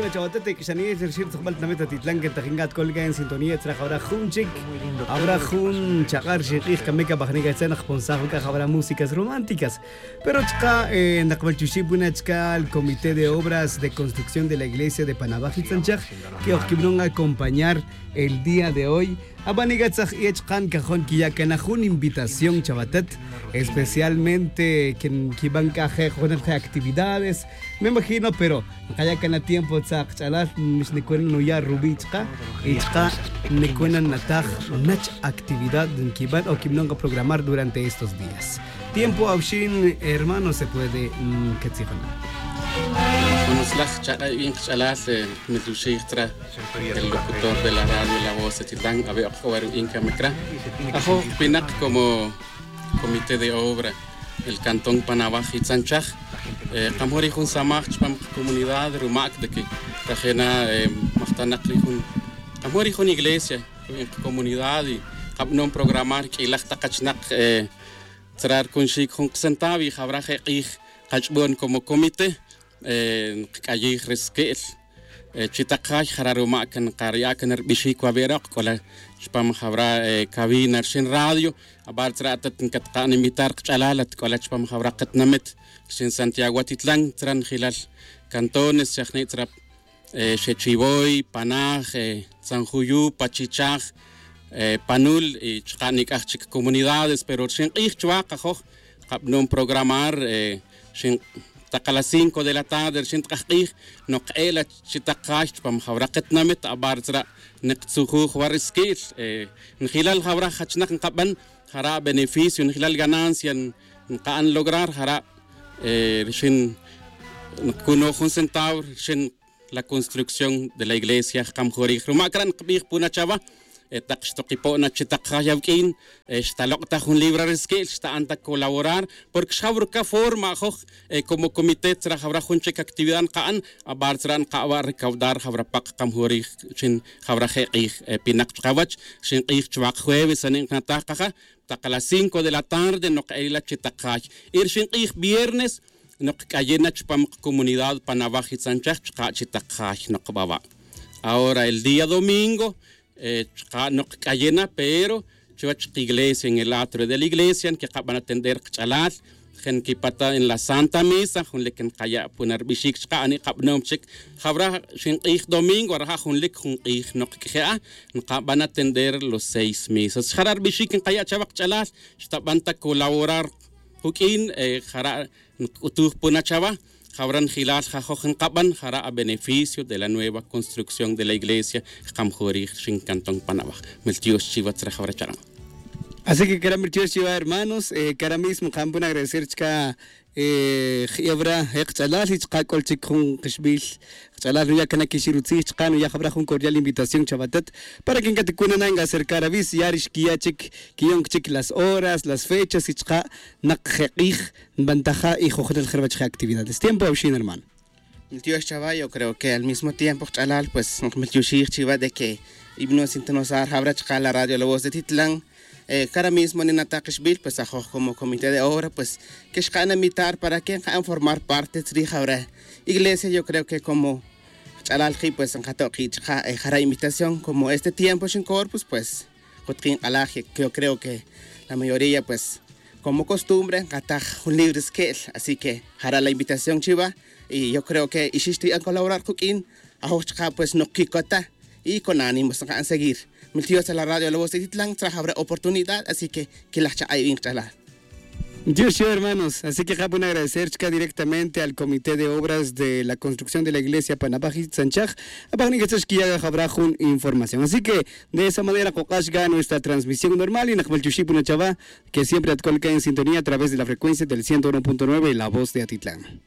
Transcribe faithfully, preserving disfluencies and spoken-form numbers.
Chawatat, k'ixaniyel rxil tzojbal tinamit atitlan que tajin k'at k'ol k'a en sintonía tzra jawra jun chik, jawra jun chaq'a rxin q'ij kame k'a bajnik atzan jponsaj wik'a jawra músicas románticas. Pero chqa' naqbal chuxib wina chka' el comité de obras de construcción de la iglesia de panabaj y tzanchaj, que ojkibnon acompañar el día de hoy. Abanik atzaj y achkan cajon quiya' cana jun invitación chawatat, especialmente quien quiban c'a je' junel je' actividades. Me imagino pero nkaya' cana tiempo tzak ch'alal, mix nicuena nuya' rubi' chka' y chka' nicuena nataj nach actividad nquiban o quibnon programar durante estos días. Tiempo awxin hermano se puede. Quetzijona. Buenos laj chaq'a' y bin kch'alal, miltuxij tzra el locutor de la radio la voz de titlan abe' ok jawar u bin camecra. Ajo pinak como comité de obra el cantón panabaj y tzanchaj. Kamjuri jun samaj chpam comunidad rumac de que tajena majtanak ri jun kamjuri jun iglesia, comunidad y kabanon programar q'uilaj tak achinak. Tzra rcunxic jun kacentavo y jawra je' k'ij kach'bon como comité. Nkac'ayij ri sque'l chi tak jay jara' rumac nkarya' can rbixic wa be'rok c'ola chpam jawra cabina rxin radio. Abar tzra' atat ncatka'n invitar kach'alal at c'ola chpam jawra katinamit rxin santiago atitlan tzra njilal cantones xajni' tzra xechivoy panaj, tzanjuyu pachichaj, panul y chka' nic'aj chic comunidades pero rxin k'ij chuwa kajoj kabanon programar. Rxin tak a las cinco de la tarde rxin tk'aj k'ij nok k'e' la chi tak jay chpam jawra katinamit abar tzra' niktzujuj wa ri sque'l. Njilal jawra jachinak nkaban jara' beneficio njilal ganancia nka'an lograr jara' rxin nkacunoj jun centavo rxin la construcción de la iglesia jkamjurij rumac ra' nkbij puna chawa. Tak xtokipo' na chi tak jay awuq'uin xtalok' ta jun libra ri sque'l xta'an ta colaborar porque xjaw ruca forma ajoj como comité tzra jawra jun chic actividad nka'an. Abar tzra' nkawa' recaudar jawra pak kamjurij chin jawra je' k'ij pinak chkawach. Rxin k'ij chwak jueves ani' nkanataj kaja tak a las cinco de la tarde nok k'ayila chi tak jay y rxin k'ij viernes nok k'ayina chpam comunidad panawaj y tzanchaj chka' chi tak jay nok bawa'. Ahora el día domingo chka' nok k'ayina pero chuwech kiglesia en el atrio de la iglesia nkeqaban atender kach'alal. Je' nkipata' en la santa misa jun lik nkaya' puna rbixic chka' ani' kabanom chic jawra xin k'ij domingo raja' jun lik jun k'ij nok q'ueje'a nkaban atender los seis misas jara' rbixic nkaya' chawa kach'alal xtaban ta colaborar. Juq'uin jara' nkc'utuj puna chawa jawra njilal jajoj nkaban jara' a beneficio de la nueva construcción de la iglesia. Jkamjurij rxin cantón panabaj. Miltiox chiwa tzra jawra cha'an. Así que cara miltiox chiwa hermanos. Cara mismo nkaban puna agradecer chka' jyawra je' kach'alal y chka' c'ol chic jun kixbil kach'alal nuya' cana quixir utzij chka' nuya' jawra jun cordial invitación chawatat para que ncaticuna na ncacercar avis ya ri xquiya' chic quiyon chic las horas las fechas y chka' nak je' k'ij nbantaja y jojnel je ruwech je actividades tiempo awxin hermano. Miltiox chawa yo creo que al mismo tiempo kach'alal pues nkamiltioxij chiwa de que ibno sintonosar jawra chka' la radio la voz de titlan. Cara mismo ninatak kixbil pues ajoj como comité de obra pues que xka'an invitar para que nka'an formar parte tzrij jawra iglesia yo creo que como kach'alal ki' pues nkato' ki' chka' jara' invitación como este tiempo xin corpus pues kutkin k'alaj yo creo que la mayoría pues como costumbre nkataj jun libre sque'l así que jara' la invitación chiwa. Y yo creo que ixix ti'an colaborar kuq'uin ajoj chka' pues nok quicota y con ánimos nka'an seguir. Miltiox tzra la radio la voz de titlan tzra jawra oportunidad así que quilaj chak'a' y bin kach'alal. Miltiox chiwa hermanos así que jabon agradecer chka' directamente al comité de obras de la construcción de la iglesia panabaj y tzanchaj. Abaj nik' tzra xquiya' jawra jun información así que de esa manera kok'ax ga nuestra transmisión normal y nak miltioxij puna chawa que siempre atcol ca en sintonía a través de la frecuencia del ciento uno punto nueve la voz de atitlan.